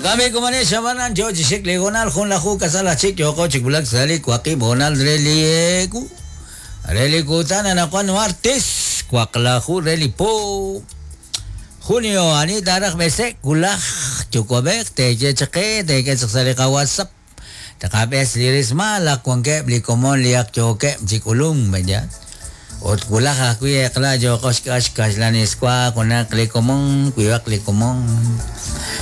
Jo'kan b'i' komonex ab'anan yo chi xik li hoonal junlaju k'asal aj chik yooqo chi wulak sa' li waqib' hoonal re li eewu re li kutan anaqwan martes waqlaju re li po junio. Ani taaraj b'ese'k wulaj yuwa'b'ej teeye chaq qe, teek'e chaq sa' li qaWhatsApp, taqab'es li rismal ak wankeb' li komon li ak yookeb' chi k'ulunk, b'eya. Ut wulaj ajwi' eq'la yooqo xk'al xkaxlaniswa junaq li komon, wiib'aq li komon.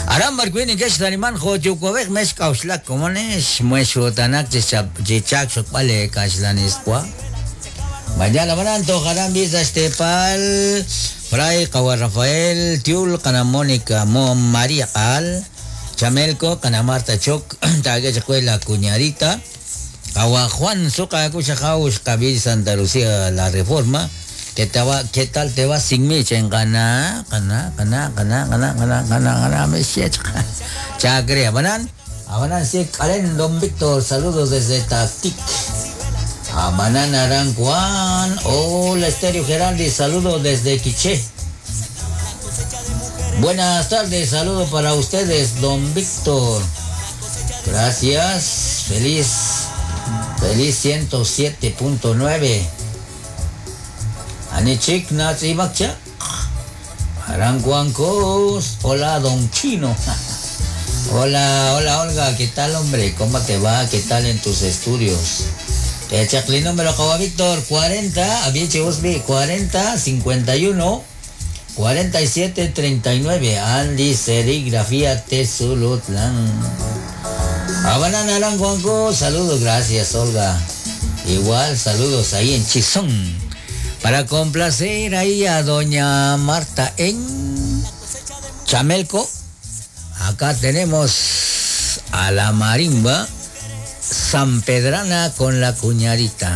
Aran b'arwi' neke'xtaniman jo' yuwa'b'ej mex k'a'uxlak komonex, mexxutanak chi chaak xokb'al leekaxlaniswa. Mañana ab'anan toj aran b'i' sa' xteepal Fray Qawa' Rafael Tiul, Qana Mónica Mo María Q'aal, Chamelco, Qana Marta Choc, taak'e chaq we la cuñadita. Qawa' Juan Suqa Akuxajaw xqab'i Santa Lucía La Reforma. ¿Qué te va, qué tal te va sin mí? Qana, qana, qana, qana, qana, qana, qana, qana, me Chacre, abanan, abanan, sí, Karen, don Víctor, saludos desde Tatic. Abanan Arancuán, hola Estéreo Geraldi, saludos desde Quiché. Buenas tardes, saludo para ustedes, don Víctor. Gracias, feliz, feliz 107.9. Anichik Natzibakcha. Arancuancos. Hola, don Chino. Hola, hola Olga, ¿qué tal hombre? ¿Cómo te va? ¿Qué tal en tus estudios? Chacli número Kawa Víctor 40, Avieche Usbi 40 51 47 39. Andy Serigrafía Tezulutlán. Abanana Arancuanco, saludos, gracias Olga. Igual, saludos ahí en Chisón. Para complacer ahí a doña Marta en Chamelco. Acá tenemos a la marimba San Pedrana con la cuñadita.